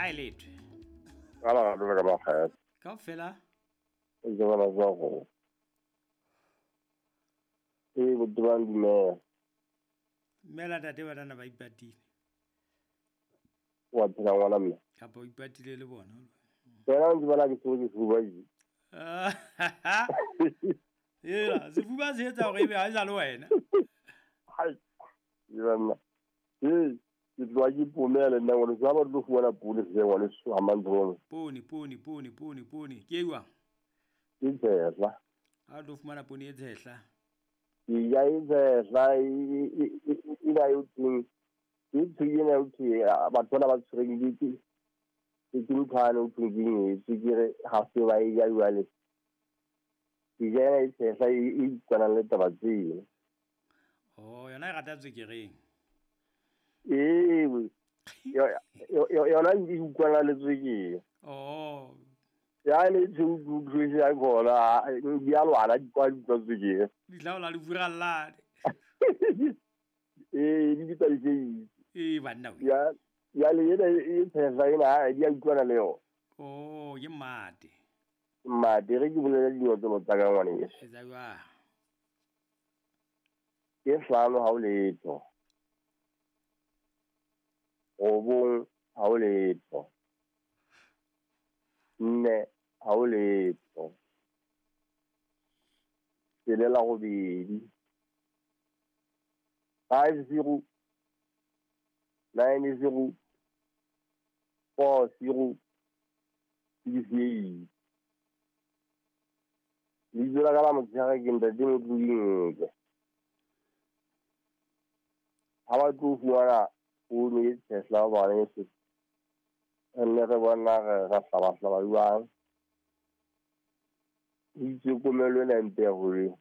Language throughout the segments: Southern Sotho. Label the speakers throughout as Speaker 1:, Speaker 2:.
Speaker 1: A e lethwe.
Speaker 2: Ka la gato le ka makgetho.
Speaker 1: Kaofela.
Speaker 2: E ke bona tsa go. E botebang dumela.
Speaker 1: Dumela tate banana ba ipatile.
Speaker 2: Wa phela ngwana mme.
Speaker 1: Kapa o ipatile le bona.
Speaker 2: Wena o ntse bona ke tshwere ke sefuba ke.
Speaker 1: Ela, sefuba se etsa hore ebe ha e sa le wena.
Speaker 2: Hai. Banna. Ee, ke tloha ke pomela nna ngwane so ha ba tlo fumana poone se ngwane so ha mantshono.
Speaker 1: Poone, poone, poone, poone, poone. Ke e jwang?
Speaker 2: Ke tshehla.
Speaker 1: Ha o tlo fumana poone e tshehla.
Speaker 2: Ke ja e tshehla e na e teng. Ke ntho ena eo ke batho bana ba tshwereng ke ke nthwane o thweng ke eng e tswekere ha se ba e ja jwale. Ke ja ena e tshehla e utlwanang le taba tseno.
Speaker 1: Oh, yona e rata tswekereng.
Speaker 2: Ee, yona e utlwana le tswekere.
Speaker 1: Oh.
Speaker 2: Ya le tshweu ya khona di a lwana di kwa di utlwa tswekere.
Speaker 1: Di tlaola le furallane.
Speaker 2: Ee, di bitsa di
Speaker 1: Ee, banna we.
Speaker 2: Ya ya le ena e tshehla ena di a utlwana le yona.
Speaker 1: Oh, ke mate.
Speaker 2: Mate re ke bolela dinotlolo tsa ka ngwaneso.
Speaker 1: Etsa jwang?
Speaker 2: Ke 5 ha o letho. 9 ha o letho. 4 ha o letho. 6 8. 5 0 9 0 4 0 6 8. Lebitso la ka la motshehare ke ntate Motlodintle. Ha ba tlo fumana poone e tshehla ngwaneso, re nne re bona re ra hlabahlaba jwang. O itse komello ena e mpe haholo.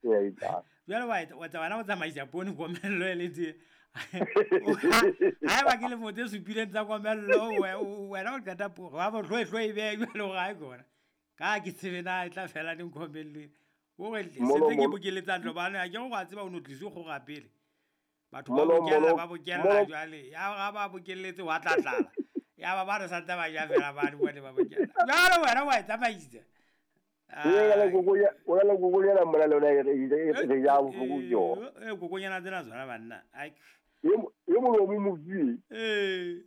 Speaker 2: E a etsahala.
Speaker 1: Jwale wa etsa wena o tsamaisa poone komello e le tje. Haeba ke lemo tse supileng tsa komello, wena o qeta wa bo hlwe e behe jwale hore ha e kona. Ka ke tsebe na e tla fela neng komello ena. Hore se ntse ke bokeletsa ntlo bana ha ke re wa tseba o no tlise kgora pele. Batho ba bokella ba bokella jwale. Ya ba ba bokelletse wa tla tlala. Ya ba ba re santse ba ja fela ba di bone ba bokella. Jwale wena wa e tsamaisa.
Speaker 2: O na le kokonyana mona le yona re ja bohloko ke yona.
Speaker 1: Kokonyana tsena tsona banna. Ai.
Speaker 2: E molomo mo mofie.
Speaker 1: Ee.